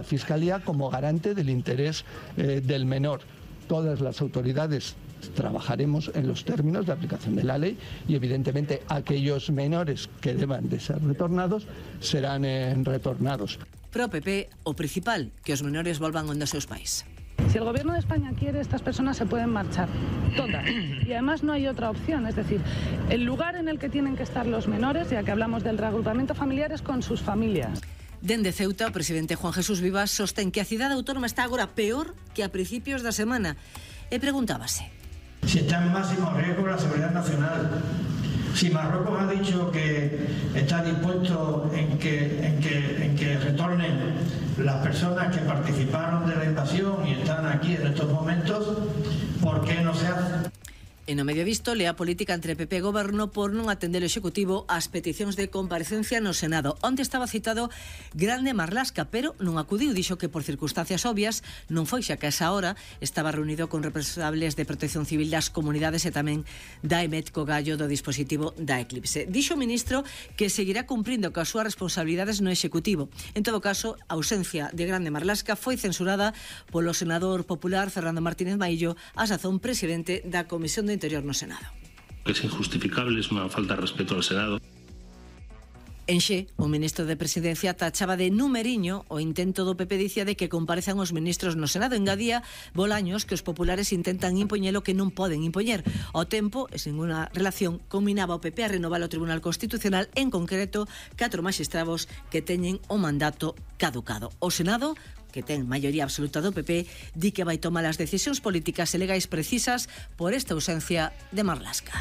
Fiscalía como garante del interés del menor. Todas las autoridades trabajaremos en los términos de aplicación de la ley y evidentemente aquellos menores que deban de ser retornados serán retornados. Pro PP, o principal, que os menores volvan onde os seus pais. Si el gobierno de España quiere, estas personas se pueden marchar, todas. Y además no hay otra opción, es decir, el lugar en el que tienen que estar los menores, ya que hablamos del reagrupamiento familiar, es con sus familias. Dende Ceuta, o presidente Juan Jesús Vivas sostén que a cidade autónoma está agora peor que a principios da semana. E preguntábase: si está en máximo riesgo la seguridad nacional, si Marruecos ha dicho que está dispuesto en que retornen las personas que participaron de la invasión y están aquí en estos momentos, ¿por qué no se hace? E no medio visto, lea política entre PP e Goberno por non atender o Executivo ás peticións de comparecencia no Senado, onde estaba citado Grande Marlaska, pero non acudiu. Dixo que por circunstancias obvias non foi, xa que a esa hora estaba reunido con responsables de Protección Civil das comunidades e tamén da EMET co gallo do dispositivo da Eclipse. Dixo o ministro que seguirá cumprindo coas súas responsabilidades no Executivo. En todo caso, a ausencia de Grande Marlaska foi censurada polo senador popular Fernando Martínez Maillo, a sazón presidente da Comisión de Interior no Senado. Es injustificable, es una falta de respeto al Senado. En Xe, o ministro de Presidencia tachaba de numeriño o intento do PP, dicía, de que comparezan os ministros no Senado. Engadía Bolaños que os populares intentan impoñer o que non poden impoñer. Ao tempo, e sen ninguna relación, combinaba o PP a renovar o Tribunal Constitucional, en concreto 4 magistrados que teñen o mandato caducado. O Senado, que ten maioría absoluta do PP, di que vai tomar as decisións políticas e legais precisas por esta ausencia de Marlaska.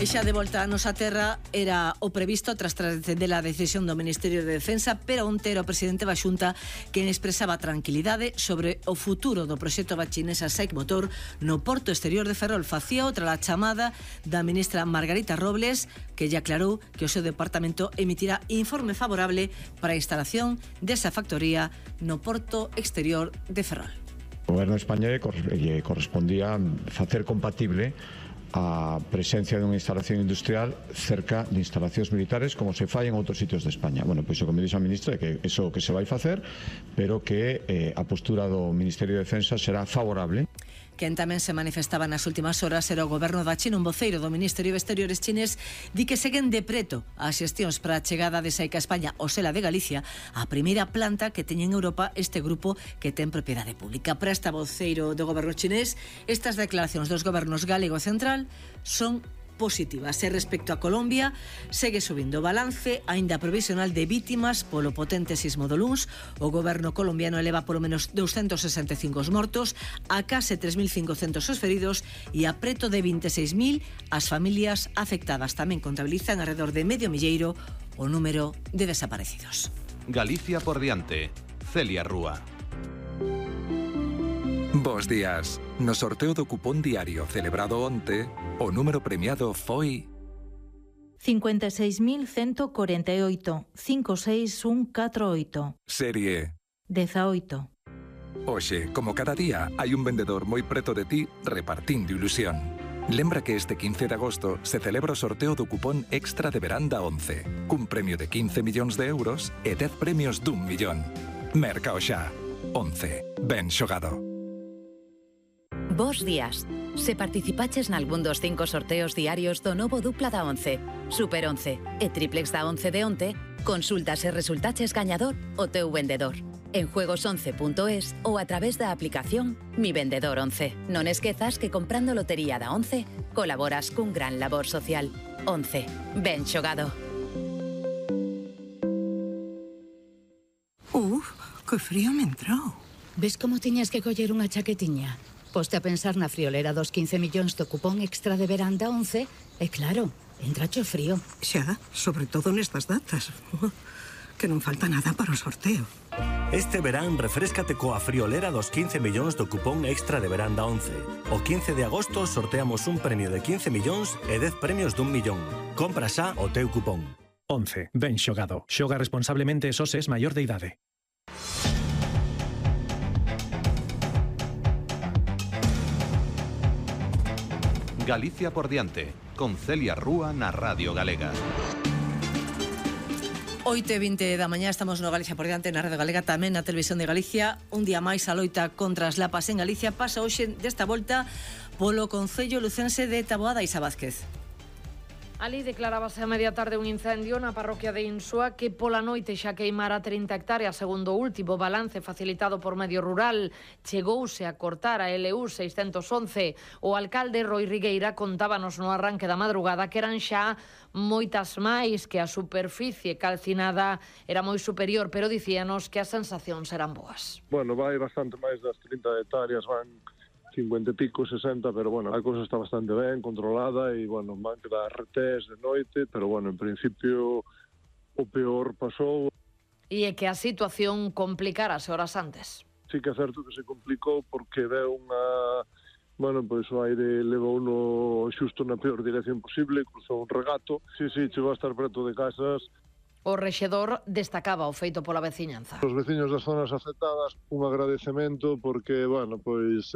E xa de volta a nosa terra, era o previsto tras trascender a decisión do Ministerio de Defensa, pero onte era o presidente da Xunta quen expresaba tranquilidade sobre o futuro do proxecto Bachinesa Saic Motor no porto exterior de Ferrol. Facía outra a chamada da ministra Margarita Robles, que lle aclarou que o seu departamento emitirá informe favorable para a instalación desa factoría no porto exterior de Ferrol. O goberno de España lle correspondía facer compatible a presencia dunha instalación industrial cerca de instalacións militares como se fai en outros sitios de España. Bueno, pois o que me dixo a ministra é que iso que se vai facer, pero que a postura do Ministerio de Defensa será favorable. Quen tamén se manifestaba nas últimas horas era o goberno da China. Un voceiro do Ministerio de Exteriores chinés di que seguen de preto as xestións para a chegada de Saic a España, o Sela de Galicia, a primeira planta que teñen en Europa este grupo que ten propiedade pública. Para esta voceiro do goberno chinés, estas declaracións dos gobernos galego e central son positivas. E respecto a Colombia, segue subindo o balance aínda provisional de vítimas polo potente sismo do luns. O goberno colombiano eleva polo menos 265 os mortos, a case 3.500 os feridos e a preto de 26.000 as familias afectadas. Tamén contabilizan alrededor de medio milleiro o número de desaparecidos. Galicia por diante. Celia Rúa. Bos días. No sorteo do cupón diario celebrado onte, o número premiado foi 56.148 56148. Serie 18. Hoxe, como cada día, hai un vendedor moi preto de ti repartindo ilusión. Lembra que este 15 de agosto se celebra o sorteo do cupón extra de veranda 11, cun premio de 15 millóns de euros e 10 premios d'1 millón. Merca o xa. 11. Ben xogado. Bos días. Se participaches nalgún dos 5 sorteos diarios do novo dupla da 11, Super 11 e triplex da 11 de onte, consulta se resultaches gañador o teu vendedor. En juegos11.es ou a través da aplicación Mi Vendedor 11. Non esquezas que comprando lotería da 11 colaboras cun gran labor social. 11. Ben xogado. Que frío me entrou. Ves como tiñas que coller unha chaquetiña? Poste a pensar na friolera dos 15 millóns do cupón extra de veranda 11 e claro, entrache o frío. Xa, sobre todo nestas datas. Que non falta nada para o sorteo. Este verán refréscate coa friolera dos 15 millóns do cupón extra de veranda 11. O 15 de agosto sorteamos un premio de 15 millóns e 10 premios d'1 millón. Compra xa o teu cupón. 11. Ben xogado. Xoga responsablemente e só se es maior de idade. Galicia por diante, con Celia Rúa na Radio Galega. 8:20 da mañá, estamos no Galicia por diante, na Rede Galega, tamén na Televisión de Galicia. Un día máis a loita contra as lapas en Galicia pasa hoxe desta volta polo concello lucense de Taboada. Isa Vázquez. Ali declarábase a media tarde un incendio na parroquia de Insua que pola noite xa queimara 30 hectáreas, segundo o último balance facilitado por Medio Rural. Chegouse a cortar a LU 611. O alcalde Roi Rigueira contábanos no arranque da madrugada que eran xa moitas máis, que a superficie calcinada era moi superior, pero dicíanos que as sensacións eran boas. Bueno, vai bastante máis das 30 hectáreas, van 50 e pico, 60, pero bueno, a cousa está bastante ben controlada e, bueno, van quedar retés de noite, pero bueno, en principio o peor pasou. E é que a situación complicarase horas antes. Sí que é certo que se complicou porque deu unha... Bueno, pois o aire levou uno xusto na peor dirección posible, cruzou un regato. Sí, chegou a estar preto de casas. O rexedor destacaba o feito pola veciñanza. Os veciños das zonas afectadas, un agradecemento porque, bueno, pois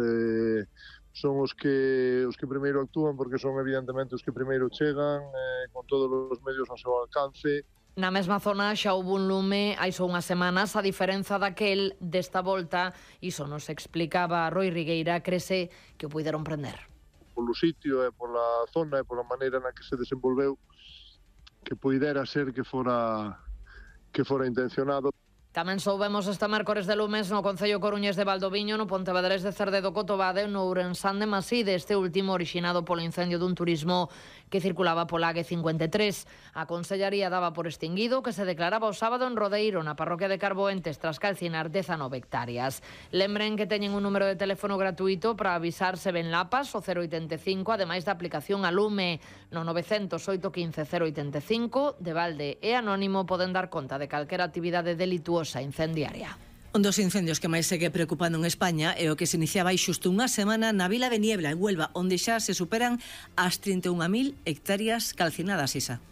son os que primeiro actúan porque son evidentemente os que primeiro chegan con todos os medios ao seu alcance. Na mesma zona xa houve un lume hai só unhas semanas, a diferenza daquel desta volta, iso nos explicaba Roi Rigueira, crese que o puideron prender. Polo sitio e pola zona e pola maneira na que se desenvolveu, que puidera ser que fora intencionado. Tamén soubemos este mércores de lumes no concello coruñés de Valdoviño, no Pontevedrés de Cerdedo Cotobade, no Ourensán de Maside, este último orixinado polo incendio dun turismo que circulaba pola A53. A Consellaría daba por extinguido que se declaraba o sábado en Rodeiro, na parroquia de Carboentes, tras calcinar 19 hectáreas. Lembren que teñen un número de teléfono gratuito para avisar se ven lapas, o 085, ademais da aplicación a lume no 908 15 085, de balde e anónimo poden dar conta de calquera actividade delituosa incendiaria. Un dos incendios que máis segue preocupando en España é o que se iniciaba hai xusto unha semana na vila de Niebla, en Huelva, onde xa se superan as 31.000 hectáreas calcinadas, Isa.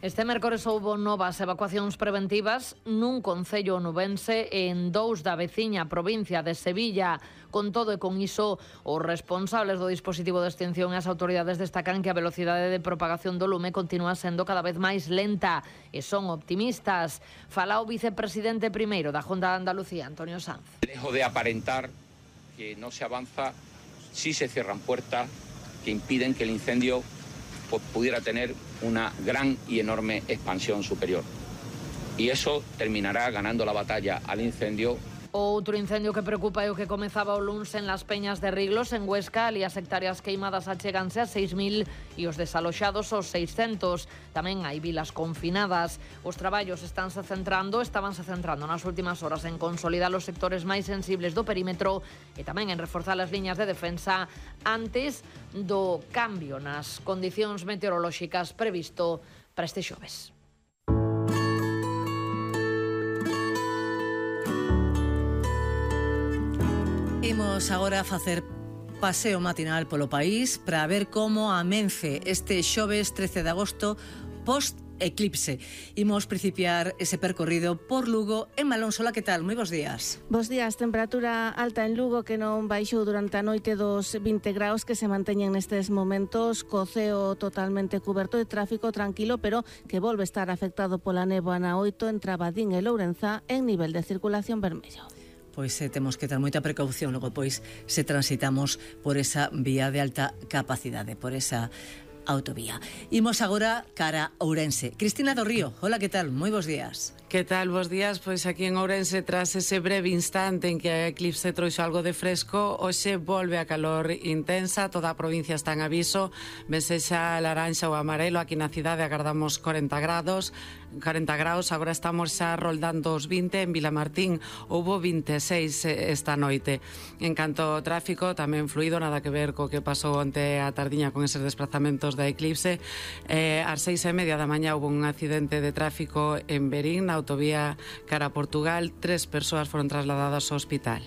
Este mércores houbo novas evacuacións preventivas nun concello onubense e en dous da veciña provincia de Sevilla. Con todo e con iso, os responsables do dispositivo de extinción e as autoridades destacan que a velocidade de propagación do lume continúa sendo cada vez máis lenta e son optimistas. Fala o vicepresidente primeiro da Junta de Andalucía, Antonio Sanz. Dejo de aparentar que no se avanza si se cierran puertas que impiden que el incendio pudiera tener una gran y enorme expansión superior. Y eso terminará ganando la batalla al incendio. Outro incendio que preocupa é o que comezaba o luns en Las Peñas de Riglos, en Huesca. Ali as hectáreas queimadas acheganse a 6.000 e os desaloxados aos 600. Tamén hai vilas confinadas. Os traballos estabanse centrando nas últimas horas en consolidar os sectores máis sensibles do perímetro e tamén en reforzar as liñas de defensa antes do cambio nas condicións meteorolóxicas previsto para este xoves. Imos agora a facer paseo matinal polo país para ver como amence este xoves 13 de agosto post-eclipse. Imos principiar ese percorrido por Lugo. Emma Alonso, que tal? Moi bons días. Bos días. Temperatura alta en Lugo que non baixou durante a noite dos 20 graus que se manteñen nestes momentos, co ceo totalmente cuberto de tráfico tranquilo, pero que volve estar afectado pola néboa na 8 entre Abadín e Lourenzá en nivel de circulación vermello. Pois temos que ter moita precaución logo pois se transitamos por esa vía de alta capacidade, por esa autovía. Imos agora cara a Ourense. Cristina do Río, hola, que tal? Moi bons días. Que tal? Bos días. Pois aquí en Ourense, tras ese breve instante en que a eclipse trouxo algo de fresco, hoxe volve a calor intensa, toda a provincia está en aviso, vense xa laranxa ou amarelo, aquí na cidade agardamos 40 graus, agora estamos xa roldando os 20, en Vilamartín houbo 26 esta noite. En canto ao tráfico, tamén fluido, nada que ver co que pasou onte a tardiña con eses desplazamentos da eclipse. Ás 6:30 da mañá houve un accidente de tráfico en Berín, na autovía cara a Portugal, 3 persoas foron trasladadas ao hospital.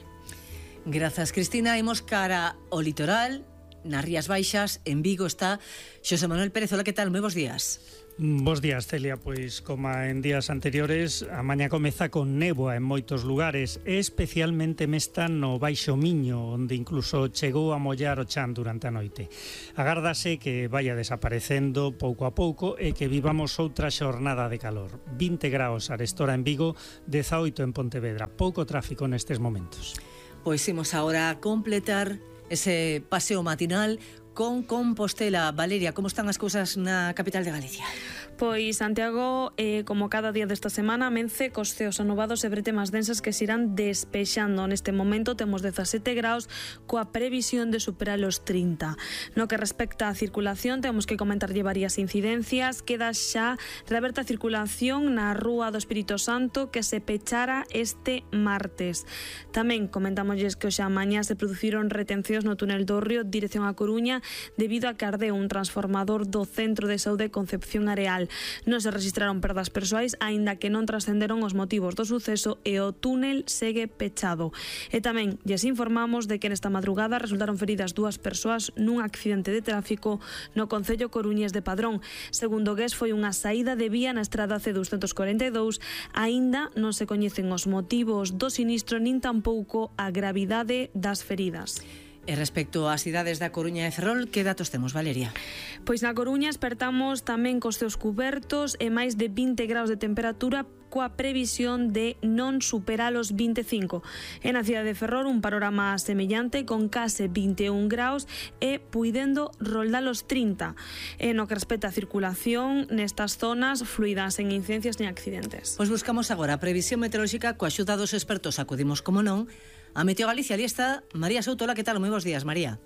Grazas, Cristina. Imos cara ao litoral, nas Rías Baixas, en Vigo está Xosé Manuel Pérez. Hola, que tal? Moi bons días. Bos días, Celia. Pois, como en días anteriores, a mañá comeza con néboa en moitos lugares, especialmente mesta no Baixo Miño, onde incluso chegou a mollar o chan durante a noite. Agárdase que vaya desaparecendo pouco a pouco e que vivamos outra xornada de calor. 20 graus arestora en Vigo, 18 en Pontevedra. Pouco tráfico nestes momentos. Pois imos agora a completar ese paseo matinal con Compostela. Valeria, como están as cousas na capital de Galicia? Pois Santiago, como cada día desta semana, amence cos ceos anubados e bretemas densas que se irán despexando. Neste momento temos 17 graus coa previsión de superar os 30. No que respecta á circulación, temos que comentarlle varias incidencias. Queda xa reaberta a circulación na Rúa do Espírito Santo, que se pechara este martes. Tamén comentámosles que hoxe a mañá se produciron retencións no túnel do Río dirección a Coruña debido a que ardeu un transformador do Centro de Saúde Concepción Areal. Non se registraron perdas persoais, aínda que non trascenderon os motivos do suceso e o túnel segue pechado. E tamén lles informamos de que nesta madrugada resultaron feridas 2 persoas nun accidente de tráfico no concello coruñés de Padrón. Segundo GES, foi unha saída de vía na estrada C242, aínda non se coñecen os motivos do sinistro nin tampouco a gravidade das feridas. E respecto ás cidades da Coruña e Ferrol, que datos temos, Valeria? Pois na Coruña espertamos tamén cos ceos cubertos e máis de 20 graus de temperatura coa previsión de non superar os 25. E na cidade de Ferrol un panorama semellante con case 21 graus e puidendo roldar os 30. E no que respecta a circulación nestas zonas fluidas en incidencias ni accidentes. Pois buscamos agora a previsión meteorolóxica coa axuda dos expertos. Acudimos, como non, a Meteo Galicia. Ali está María Soutola. Que tal? Moi bons días, María.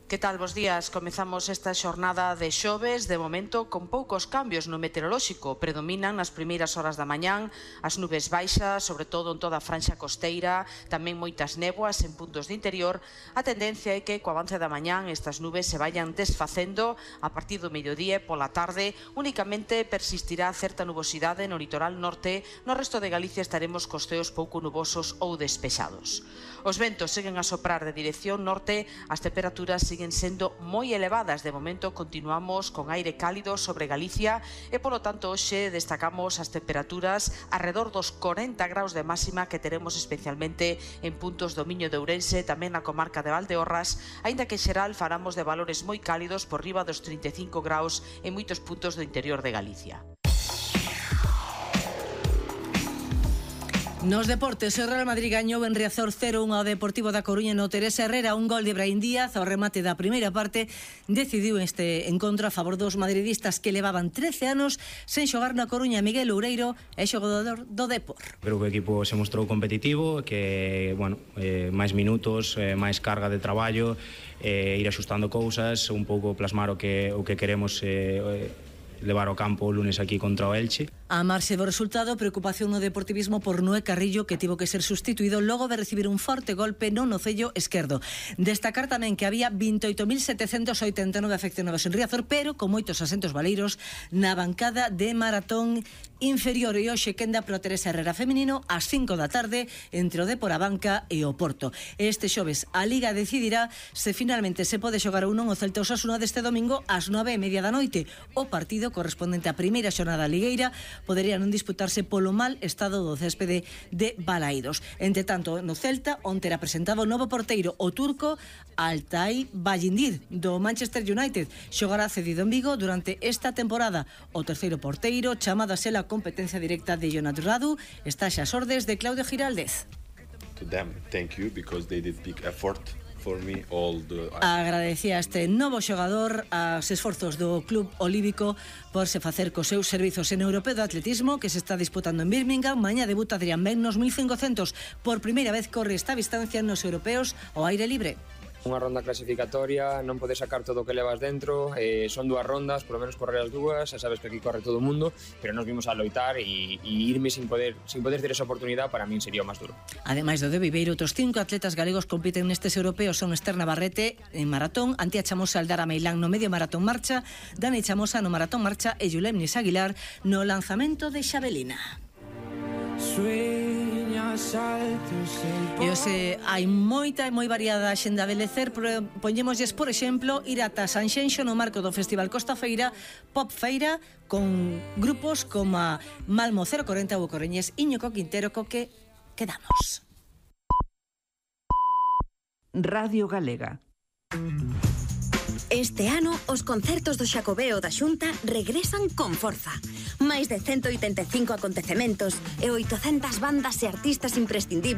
Que tal, bos días? Comezamos esta xornada de xoves, de momento con poucos cambios no meteorolóxico. Predominan nas primeiras horas da mañán as nubes baixas, sobre todo en toda a franxa costeira, tamén moitas néboas en puntos de interior. A tendencia é que co avance da mañán estas nubes se vayan desfacendo a partir do mediodía e pola tarde. Únicamente persistirá certa nubosidade no litoral norte. No resto de Galicia estaremos cos ceos pouco nubosos ou despexados. Os ventos seguen a soprar de dirección norte, as temperaturas siguen sendo moi elevadas. De momento continuamos con aire cálido sobre Galicia e, polo tanto, hoxe destacamos as temperaturas alrededor dos 40 graus de máxima que teremos especialmente en puntos do Miño de Ourense, tamén na comarca de Valdeorras, aínda que en xeral falamos de valores moi cálidos por riba dos 35 graus en moitos puntos do interior de Galicia. Nos deportes, o Real Madrid gañou en Riazor 0-1 ao Deportivo da Coruña no Teresa Herrera. Un gol de Brahim Díaz ao remate da primeira parte decidiu este encontro a favor dos madridistas que levaban 13 anos sen xogar na Coruña. Miguel Oureiro é xogador do Depor. Creo que o equipo se mostrou competitivo, que, máis minutos, máis carga de traballo, ir axustando cousas, un pouco plasmar o que queremos levar ao campo o lunes aquí contra o Elche. A marxe do resultado, preocupación no deportivismo por Noé Carrillo, que tivo que ser sustituído logo de recibir un forte golpe no nocello esquerdo. Destacar tamén que había 28.789 afeccionados en Riazor, pero con moitos asentos valeiros na bancada de maratón inferior. E hoxe quenda pro Teresa Herrera feminino ás 5 da tarde entre o Depor, a Banca e o Porto. Este xoves a Liga decidirá se finalmente se pode xogar ou non o Celta Osasuna deste domingo ás 9:30 da noite. O partido correspondente á primeira xornada ligueira podería non disputarse polo mal estado do céspede de Balaídos. Entre tanto, no Celta, onte era presentado o novo porteiro, o turco Altay Bayindir, do Manchester United. Xogará cedido en Vigo durante esta temporada. O terceiro porteiro, chamada a ser a competencia directa de Jonat Radu, está xa ás ordes de Claudio Giraldez. To them, thank you, because they did big effort. Agradecía este novo xogador aos esforzos do Club Olívico por se facer cos seus servizos en Europeo de Atletismo, que se está disputando en Birmingham. Mañá debuta Adrián Ben nos 1500. Por primeira vez corre esta distancia nos europeos ao aire libre. Unha ronda clasificatoria, non podes sacar todo o que levas dentro, son 2 rondas, por lo menos correr as 2, xa sabes que aquí corre todo o mundo, pero nos vimos a loitar e irme sin poder ter esa oportunidade para min sería o máis duro. Ademais do de Viveiro, outros 5 atletas galegos compiten nestes europeos. Son Esther Navarrete en maratón, Antía Chamosa, Aldara Meilán no medio maratón marcha, Dani Chamosa no maratón marcha e Yulemnis Aguilar no lanzamento de xavelina. Sueña E hoxe hai moita e moi variada xenda a belecer, pero poñémoslles, por exemplo, ir ata Sanxenxo no marco do Festival Costa Feira, Pop Feira, con grupos como Malmo 040 ou Coreñés, Íñigo Quintero, co que quedamos. Radio Galega. Este ano, os concertos do Xacobeo da Xunta regresan con forza. Máis de 185 acontecementos e 800 bandas e artistas imprescindibles